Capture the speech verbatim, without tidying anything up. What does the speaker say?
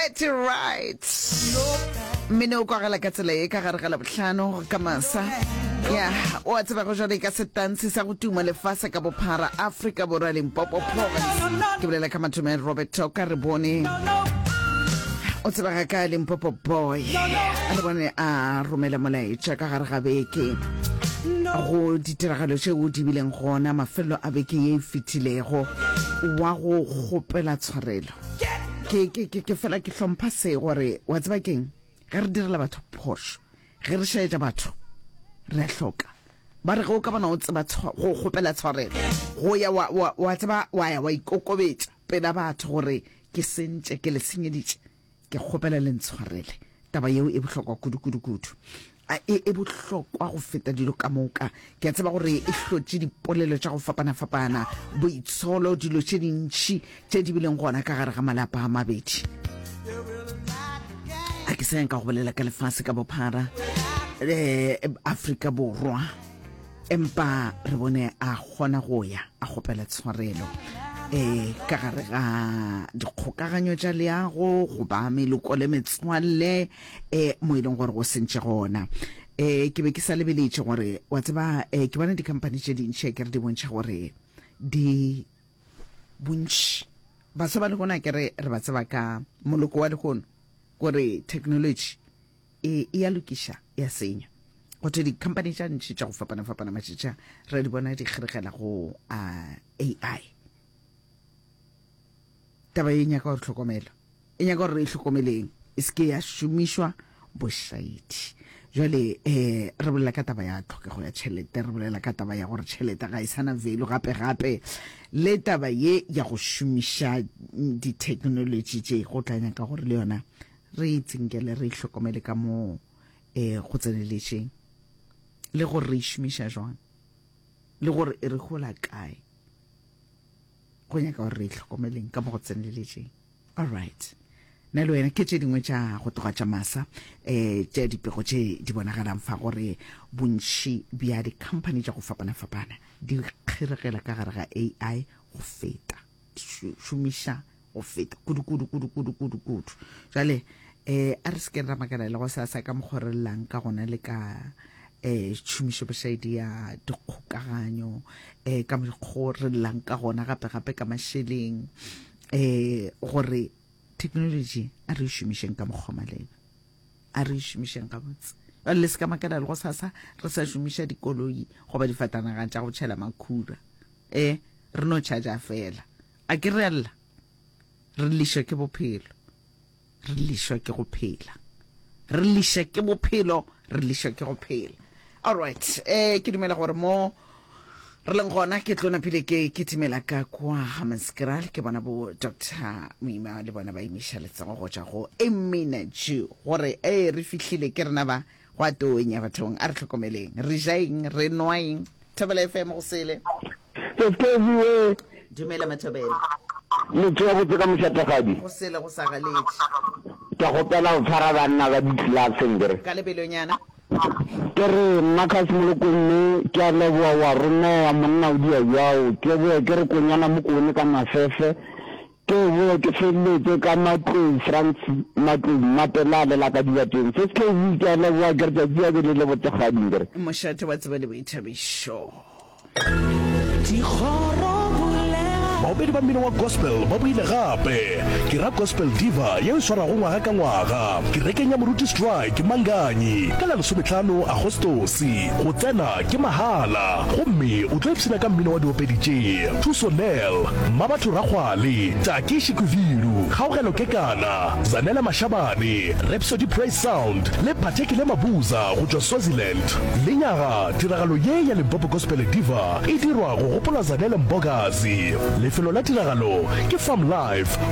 Get it right. Mmino o kwagala ka tsela ye ka gare ga Labohlano ka masa. Ya, o a tseba go jwale ka setansi sa go tuma lefase ka bophara Afrika Borwa Limpopo Province. Ke bolela ka mathomo Robert Toka re bone o tsebega ka Limpopo Boy. Re bone a romela molaetša ka gare ga beke go ditiragalo tšeo di bileng gona mafelo a beke ye e fetilego wa go kgopela tshwarelo. Ke ke ke ke fela ke hlompha se gore wa tseba keng ge re direla batho phošo ge re šaetša batho re a hloka ba re ge o ka bona o tseba go kgopela tshwarelo go ya wa, wa, wa tseba wa ya wa ikokobetša pela batho gore ke sentše ke le senyeditše ke kgopela le ntshwarele taba yeo e bohlokwa kudu kudu kudu a e e bohlokwa go feta dilo ka moka ke a tseba gore e hlotše dipolelo tša go fapana-fapana boitsholo dilo tše dintšhi tše di bileng gona ka gare ga malapa a mabedi a ke sa ka go bolela ka lefase ka bophara um Afrika Borwa empa re bone a kgona go ya a kgopela tshwarelo um ka gare ga dikgokaganyo tša leago goba meloko le metswalle um mo e leng gore go sentše gona um ke be ke sa lebeletše gore wa tseba um ke bona di-company tše dintšhi ke re di bontšha gore di bontši baswa ba lehono ke re re ba tseba ka moloko wa lehono gore technology e e ya lokiša ya senya go thwe di-company tša ntši tša go fapana-fapana matšatša re di bona di kgeregela go uh, AI taba e nyaka gore tlhokomelo e nyaka gore re e hlokomeleng e se ke ya šomišwa bošaedi jwale um re bolela ka taba ya tlhokego ya tšhelete re bolela ka taba ya gore tšhelete ga e sana value gape gape le taba ye ya go šomiša di-technology tše go tla nyaka gore le yona re e tsinkele re e hlokomele ka mo um go tseneletšeng le gore re e šomiša jwang le gore e re gola kae go nyaka gore re e hlokomeleng ka mo go tseneletšeng all right nna le wena ke tše dingwe tša go tloga tša masa um tša dipego tše di bonagalang fa gore bontši bja di-company tša go fapana-fapana di kgeregela ka gare ga AI go feta di šomiša go feta kudu kudu kudu kudu kudu kudu jale um a re se ke ra makala le go sasa ka mokgwa re llang ka gona le ka um tšhomišo bošaedi ya dikgokaganyo um ka mokgwa re llang ka gona gape gape ka mašeleng um gore technology a re e šomišeng ka mokgwa maleba a re e šomišeng gabotse jale le se ka makala le go sasa re sa šomiša dikoloi goba difatanaga tša go tšhela makhura e re no charger fela a ke re lla re lišwa ke bophelo re lišwa ke go phela re liša ke bophelo re lišwa ke go phela alright eh ke dumela gore mo re leng gona ke tlo napile ke kitimela ka kwa Hammanskraal ke bona bo Dr Moima le bona ba emiša letsogo go tšwa go Emina Jew gore e re fihlile ke rena ba go a tonya bathong a re hlokomeleng re ja eng re nwa eng Thobela FM go sele Seskeziwe dumela Mathobela motho wa botse ka mošatagadi go sele go sa galetše ke gopela go tshwara banna ba di-classeng kere ka lebelonyana ke re Marcus Molokomme ke a leboa wa romea monna o dia jao ke boe ke re konyana mokone ka mafefe ke boe ke feleletse ka matlou France matlou mapelale la ka dibateng se se ke a leboa ke re tšatši ya ke le le botsegading kere mošate wa tseba le boithabišo Baopedi ba mmino wa gospel ba boile gape ke ra Gospel Diva yeo e swarwago ngwaga ka ngwaga kerekeng ya Moruti Strike Manganyi ka la lesometlhano Agostosi go tsena ke mahala gomme o tlo ipshina ka mmino wa diopedi tše Thuso Nel Mmabatho Rakgwale Taki Shikuvilu Kgaogelo Kekana Zanele Mashabane Rhapsody Praise Sound le Phathekile Mabuza go tšwa Swaziland lenyaga tiragalo ye ya Limpopo Gospel Diva e dirwa go gopola Zanele Mbokazi lefelo la tiragalo ke Farm Life